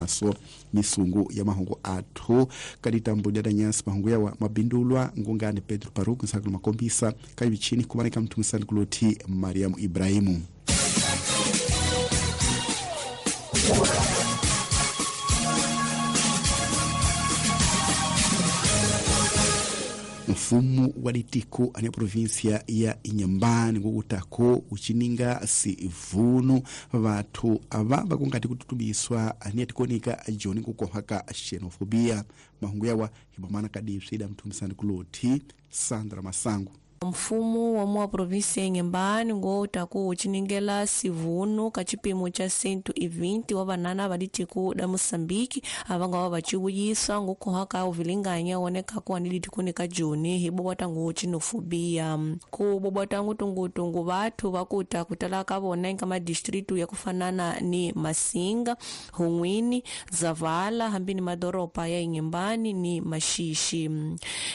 So misungu ya mahungu athu kaditambo lya danyasi mahungu yawa mabindulwa ngungani Pedro Paruku nsakulu makombisa kayivichini kumaneka mthumisani kuloti Mariamu Ibrahimu. Mfumo wa litiko ane provinsia ya Inhambane ngokutako uchininga sivunu vathu ava vakungati kututubiswa ane atikonika joni kukohaka xenofobia. Mahungu yawa hibamana kadipsida mthumisani kuloti Sandra Masangu. Mfumo wa mwa provinsi ya Inhambane ngowutaku uciningela sivunu ka cipimo ca 120 wa vanana va litiko da Moçambique avanga va vaciwuyiswa ngokuhaka uvilinganya wonekaku ani litikoni ka joni hi bobota ngo xenofobia. Ku bobota ngutungutungu vathu vakuta kutala ka vona eka madistritu ya kufanana ni Masinga, Hun'wini, Zavala hambi ni madoropa ya Inhambane ni Maxixi.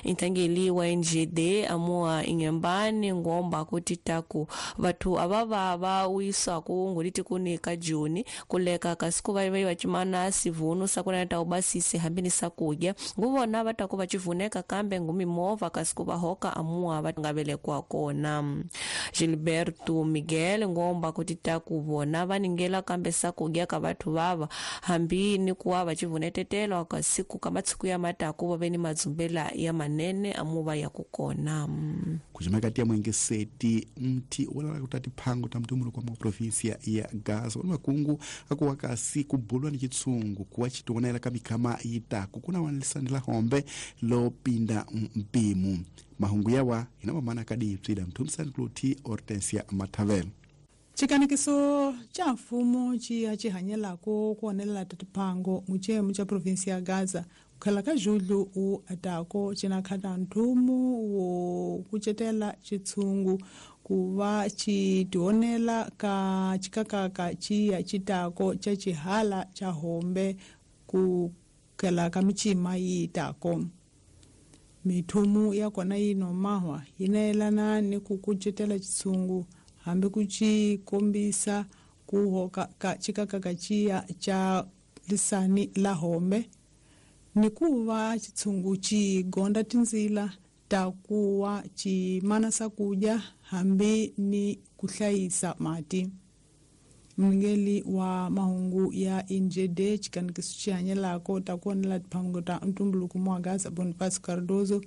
Intangeli wa NGD amua Inhambane ngomba kuti taku vathu ava va wiswaku ngoliti kuni ka joni kuleka kasi ku va va cimana sivunu sakuna ta ubasise hambi ni sakudya nguvona va taku va civuneka kambe ngumimovha kasi ku va hoka amua va nga velekwa kona. Gilberto Miguel ngomba kuti taku vona va ningela kambe sakudya ka vathu vava hambi ni kuwa va civunetetelo kasi ku ka matsiku ya mataku va ve ni madzumbela ya manene amuva ya ku kona. Kujimakati ya mwengeseti mti walala kutati phango ta mtumulu kwa provinsia ya Gaza wani makungu akuwa kasi kubulwa ni chitsungu kuwa chitionela kamikama yitaku kuna wanlisanila hombe lopinda mpimu. Mahungu yawa inamamana kadipsida mtumisani kuloti Hortensia Mathavel. Chikanikiso cha mfumo chiya chihanyelako kuonelela tatiphango muchemu cha provinsia ya Gaza kukhela ka Julho u atako cinakhata nthumu wo kucetela chitshungu kuva chitionela ka chikakaka chiya chitako cha chihala cha hombe kukhela ka michima yitako. Mithumu ya kona yinomahwa yinayelana ni ku kucetela chitshungu hambi ku cikombisa kuhoka ka chikakaka chiya cha lisani la hombe ni kuva chitshungu chigonda tinzila ta kuwa chimana sakudya hambi ni kuhlayisa mati. Mngeli wa mahungu ya NGD chikanikiso chihanyelako ta kuonela tiphango ta ntumbuluko mwa Gaza Bonifacio Cardoso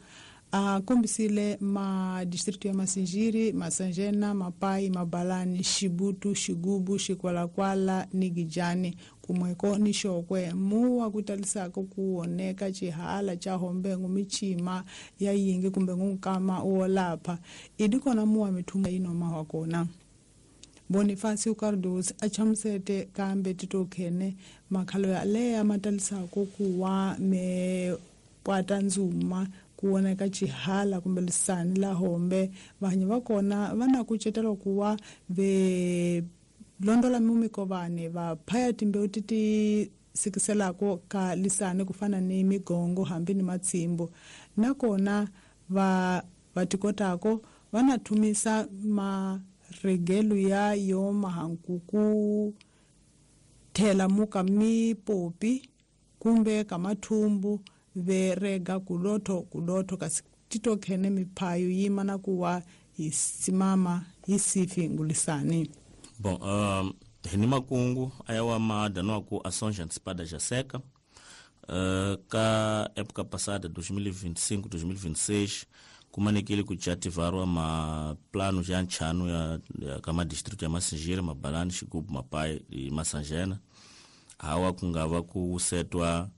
akombisile madistritu ya Masinjiri, Masanjena, Mapai, Mabalani, Xibutu, Xigubu, Xikwalakwala ni Gijani kumweko ni Xokwe muwa kutalisako kuoneka chihala cha hombe ngumichima ya yingi kumbe ngunkama wolapha idi kona muwa mithunga inomahwa kona. Bonifacio Cardoso achamusete kambe titokhene makhalo ya leya matalisako kuwa me pwata ndzuma kuoneka chihala kumbe lisani la hombe vanhu va kona va na kucetela kuwa ve londola mumikovane va phaya timbewu ti ti sikiselako ka lisani kufana ni migongo hambi ni matsimbo nakona va tikotako va na thumisa maregelo ya yo mahankuku thela muka mipopi kumbe ka mathumbu verega kulotho kulotho kasi titokhene miphayo yima na kuwa yisimama yisifi ngulisani. Bom, hini makungu ayawa maadano ku ações antecipadas já seca. Ka época passada 2025 2026 kumanekile kuchativarwa ma plano já nchano ya kama distrito ya Masinjiri, Mabalani, Xigubu, Mapai e Masanjena hawa kungava kusetwa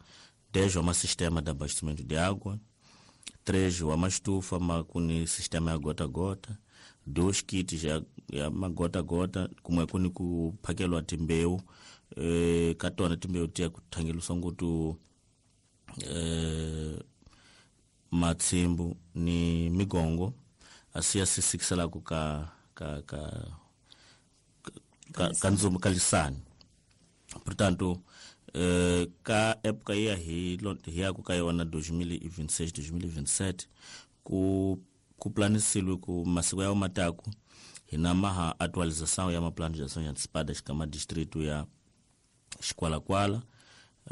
10 uma sistema de abastecimento de água, 3 uma estufa kuni sistema ya gota a gota, 2 kits ya magota a gota kumwe kuni kuphakelwa timbeu katona timbeu tiya kuthangeliswa ngutu matsimbu ni migongo asiya sisikiselaku ka ka ka ka, ka ndzumbu ka lisani. Portanto, ka época ia hi yaku ka yona 2026 2027 ku planisilwe ku masiku ya mataku hina maha atualização ya maplano de ações antecipadas kama distrito ya Xikwalakwala